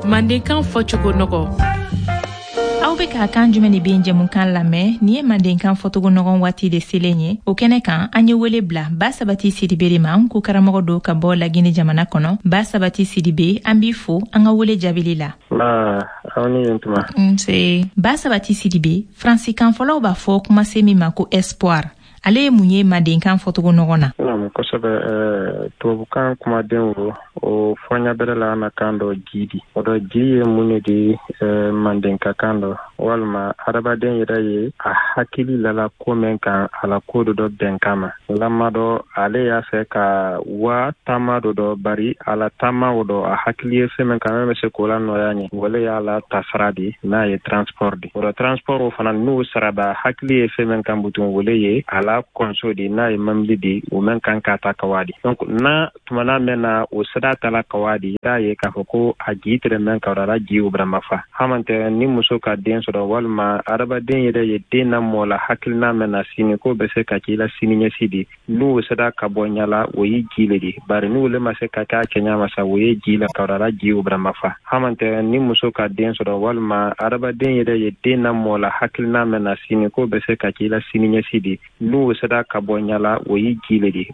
Mandenkan fɔcogo nɔgɔ. Aw bɛ ka Kan jumɛn de bɛ jɛmukan lamɛn. Nin ye Mandenkan fɔcogo nɔgɔn waati de selen ye. O kɛnɛ kan, an ye wele bila Ba Sabati Sidibe de ma, ko karamɔgɔ don ka bɔ Lagine jamana kɔnɔ. Ba Sabati Sidibe, an b'i fo an ka wele jaabili la. Aw ni yen tuma. Nse Ba Sabati Sidibe, Faransikanfɔlaw b'a fɔ kumasen min ma ko espoir, ale ye mun ye Mandenkan fɔcogo nɔgɔn na? Naamu, kosɛbɛ. Tubabukan kumaden o fɔɲa bɛrɛ la an na kan dɔ, ji di. O dɔ, ji ye mun ne di Mandenka kan dɔ, walima adamaden yɛrɛ ye a hakili lala ko mɛn kan, a la ko dɔ dɔ bɛnkan ma lamadɔ, ale y'a fɛ ka wa taama dɔ dɔ, bari a la taama o dɔ, a hakili ye fɛn min kan mɛn bɛ se k'o la nɔya ɲɛ, o le y'a la tasara di, n'a ye transport di. O dɔ, transport o fana, n'o saraba, hakili ye fɛn min kan butun, o le ye a la kɔnso di, n'a ye mambili di, o mɛn kan k'a ta ka wa di. Donc n'a tumana mɛn na o sira tala ka wa di, i y'a ye k'a fɔ ko a jii tɛrɛ mɛn ka a la ji o bara mafa hamantɛ. Ni muso ka den sɔrɔ, walima adamaden yɛrɛ ye den namɔ la hakilina mɛn na sini k'o bɛ se ka k'i la sini ɲɛsi di, n'o sera ka bɔ ɲa la, o ye ji le di. Bari n'o le ma se ka kɛ a kɛɲa ma sa, o ye ji la ka a la ji o bara mafa hamantɛ. Ni muso ka den sɔrɔ, walima adamaden yɛrɛ ye den namɔ la hakilina mɛn na sini k'o bɛ se ka k'i la sini ɲɛsi di, n'o sera ka bɔ ɲa la, o ye ji le di.